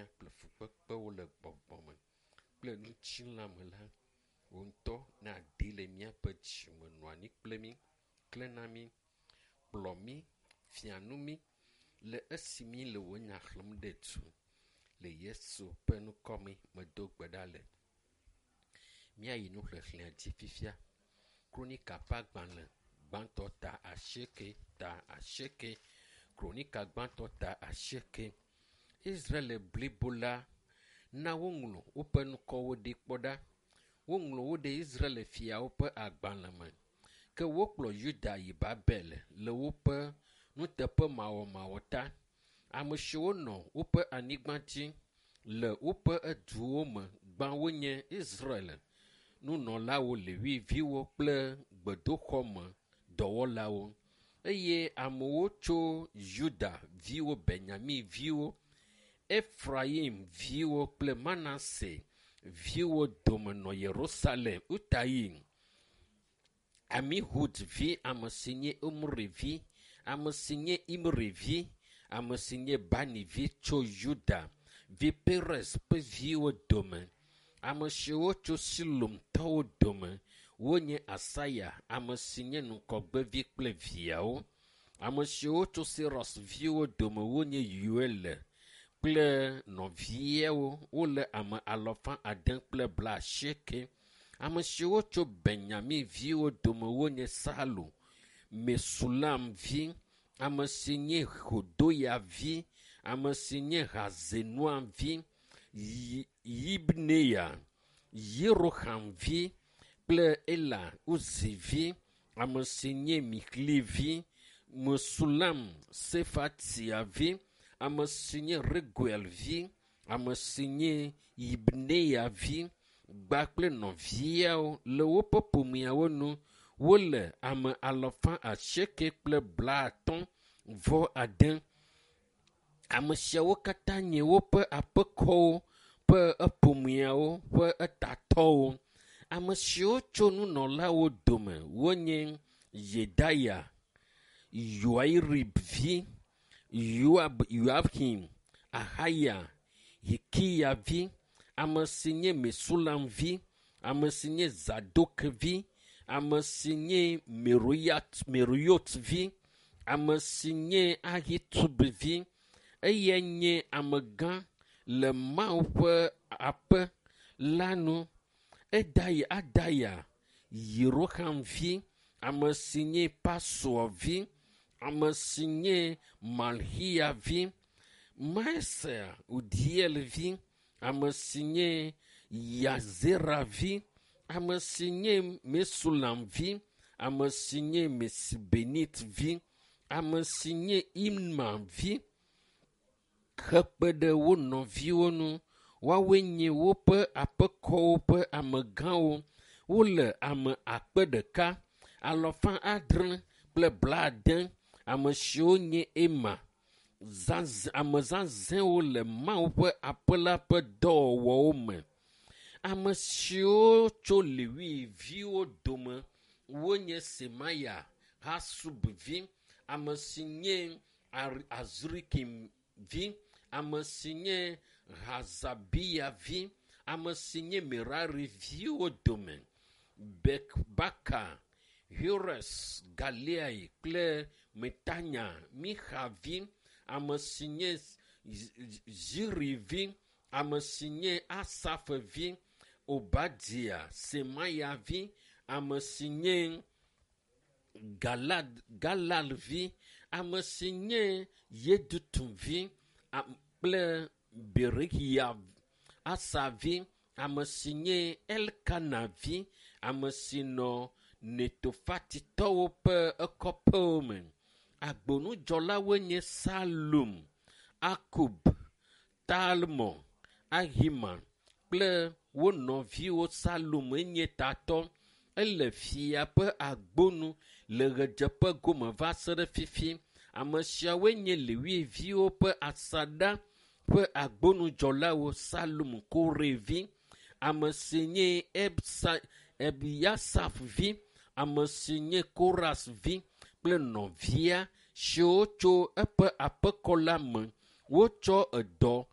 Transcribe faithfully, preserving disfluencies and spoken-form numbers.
hiã kple fukpekpewo le gbɔgbɔ me kple ŋutilã me la, wò ŋutɔ nàɖee le míaƒe dzime nɔ anyi kple mí, klẽ na mí, kplɔ mí, fia nu mí le esi mí le wò nya xlẽm ɖe du. Le Yesu ƒe ŋkɔ me medo gbe ɖa le. Míayi nuxexlẽa dzi fifia. Kronika ƒe agbalẽ gbãtɔ ta asieke ta asieke. Kronika gbãtɔ ta asieke. Israel blibo la na woŋlɔ woƒe ŋkɔwo ɖi kpɔ ɖa. Woŋlɔ wo ɖe Israel fiawo ƒe agbalẽ me. Ke wokplɔ Yuda yi Babel le woƒe nuteƒemawɔmawɔ ta. Ame siwo nɔ woƒe anyigba dzi le woƒe eduwo me gbã wonye Israel nunɔlawo, Lewiviwo kple gbedoxɔme dɔwɔlawo. Eye amewo tso Yuda viwo, Benyamin viwo, Efraim viwo kple Manase viwo dome nɔ Yerusalem. Utayi, Amihud vi, ame si nye Omri vi, ame si nye Imri vi, ame si nye Bani vi tso Yuda vi Perez ƒe viwo dome. Ame siwo tso Silomtɔwo dome wonye Asaya, ame si nye ŋgɔgbevi kple viawo. Ame siwo tso Seros viwo dome wonye Yoel kple nɔviawo wole ame alafa ade kple blaasieke. Ame siwo tso Benyamin viwo dome wonye Salu, Mesulam vi, ame si nye Hodoya vi, ame si nye Hazenua vi, Yibneya, Yeroham vi kple Ela Uzi vi, ame si nye Mixli vi, Mesulam Sefatia vi, ame si nye Reguel vi, ame si nye Yibneya vi, gba kple nɔviawo le woƒe ƒomeawo nu wole ame alafa asieke kple blaatɔ̃ vɔ ade. Ame siawo katã nye woƒe aƒekɔwo ƒe eƒomeawo ƒe etatɔwo. Ame siwo tso nunɔlawo dome wonye Yedaya, Yoarib vi, Yoab, Yoahim, Ahaya, Hikiya vi, ame si nye Mesulam vi, ame si nye Zadok vi, ame si nye Meruyat, Meruyot vi, ame si nye Ahitub vi. Eyae nye amegã le Mawu ƒe aƒe la nu. Edaya, Adaya, Yeroham vi, ame si nye Pasur vi, ame si nye Malxiya vi, Maesea Udiel vi, ame si nye Yazera vi, ame si nye Mesulam vi, ame si nye Mesibenit vi, ame si nye Imna vi, hekpe ɖe wo nɔviwo ŋu. Woawoe nye woƒe aƒekɔwo ƒe amegãwo. Wole ame akpe ɖeka, alafa adre kple blaade. Ame siwo nye Ema, zaz, ame zazɛ̃wo le Mawu ƒe aƒe la ƒe dɔwɔwɔwo me. Ame siwo tso Lewi viwo dome wonye Semaya, Hasub vi, ame si nye Azrikim vi, ame si nye Hazabiya vi, ame si nye Merari viwo dome. Bekbaka, Hores, Galiai kple Metanya, Mixa vi, ame si nye Ziri vi, ame si nye Asaf vi, Obadia, Semaya vi, ame si nye Galad, Galal vi, ame si nye Yedutun vi kple Berekia Asa vi, ame si nye Elkana vi, ame si nɔ Netofatitɔwo ƒe ekɔƒewo me. Agbonudzɔlawoe nye Salum, Akub, Talmon, Ahiman kple wo nɔviwo. Salum enye tatɔ. Ele fia ƒe agbonu le ɣedzeƒe gome va se ɖe fifi. Ame siawoe nye Lewiviwo ƒe asaɖa ƒe agbonudzɔlawo. Salum Kore vi, ame si nye Ebsa, Ebiasaf vi, ame si nye Koras vi kple nɔvia siwo tso eƒe aƒekɔ la me. Wotsɔ edɔ